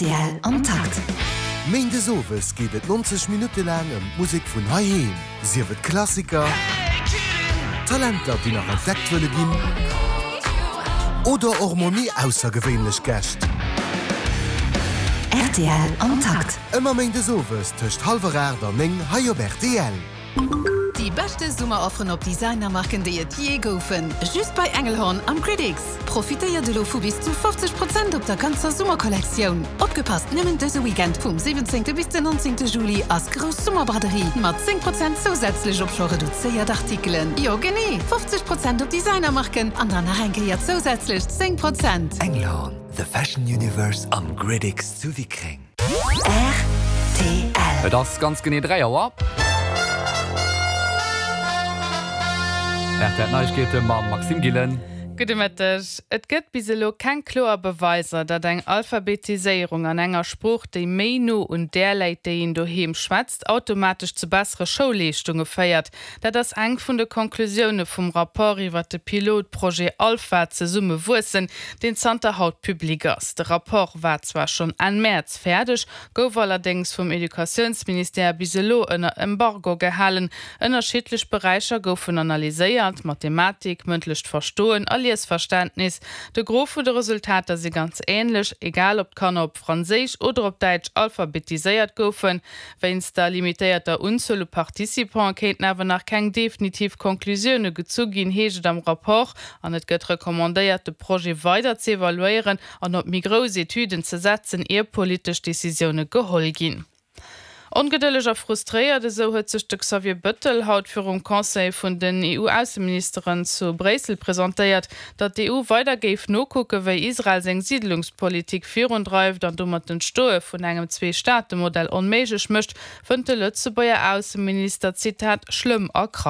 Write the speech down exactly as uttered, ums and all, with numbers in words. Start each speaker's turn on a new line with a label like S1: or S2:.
S1: Rtl am Takt.
S2: Méindes owes geet et nonzeg Minutte laang ëm d'Musek vun heiheem, sief et Klassiker, Talenter, déi nach entdeckt wëlle ginn, oder och mol méi aussergewéinlech Gäscht.
S1: Rtl am Takt.
S2: Ëmmer méindes owes tëscht hallwer aacht an néng hei op rtl.
S3: Déi beschte Summerofferen op Designermarken, déi et jee goufen. Just bei Engelhorn am Gridix. Profitéiert elo vu bis zu fofzeg Prozent op der ganzer Summerkollektioun. Opgepasst, nëmmen dëse Weekend vum siwwenzéngte bis den nonzéngte Juli ass grouss Summerbraderie mat zéng Prozent zousätzlech op scho reduzéiert Artikelen. Jo genee, fofzeg Prozent op Designermarken an dann nach eng Kéier zousätzlech zéng Prozent.
S4: Engelhorn, the fashion universe am Gridix zu Wickreng.
S1: Rtl.
S5: Et ass ganz genee dräi Auer. R T L Neiegkeete mam Maxime Gillen.
S6: Gudde Mëtteg. Et gëtt bis elo keng kloer Beweiser, datt eng Alphabetiséierung an enger Sprooch, déi méi no un där läit, déi een doheem schwätzt, automatesch zu bessere Schoulleeschtunge féiert. Dat ass eng vun de Konklusioune vum Rapport iwwer de Pilotprojet Alpha, Zesumme wuessen, deen zanter haut public ass. De Rapport war zwar schonn Enn Mäerz fäerdeg, gouf allerdéngs vum Educatiounsministère bis elo ënner Embargo gehalen. Ënnerschiddlech Beräicher goufen analyséiert, Mathematik, mëndlecht Verstoen a Liesverständnis. De Gros vun de Resultater si ganz änlech, egal ob d'Kanner op Franséisch oder op Däitsch alphabetiséiert goufen. Wéinst der limitéierter Unzuel u Participante kéinten awer nach keng definitiv Conclusioune gezu ginn, heescht et am Rapport. An et gëtt recommandéiert, de Projet weider ze evaluéieren an op méi grouss Etüden ze setzen, ier politesch Decisioune geholl ginn. Ongedëlleg a frustréiert, esou huet sech de Xavier Bëttel haut virum Conseil vun den E U-Ausseministeren zu Bréissel presentéiert. Datt d'E U weider géif nokucke wéi Israel seng Siidlungspolitik virundreift an domat d'Entstoe vun engem Zwee-Staate-Modell onméiglech mécht, fënnt de Lëtzebuerger Ausseminister, Zitat, schlëmm a krank.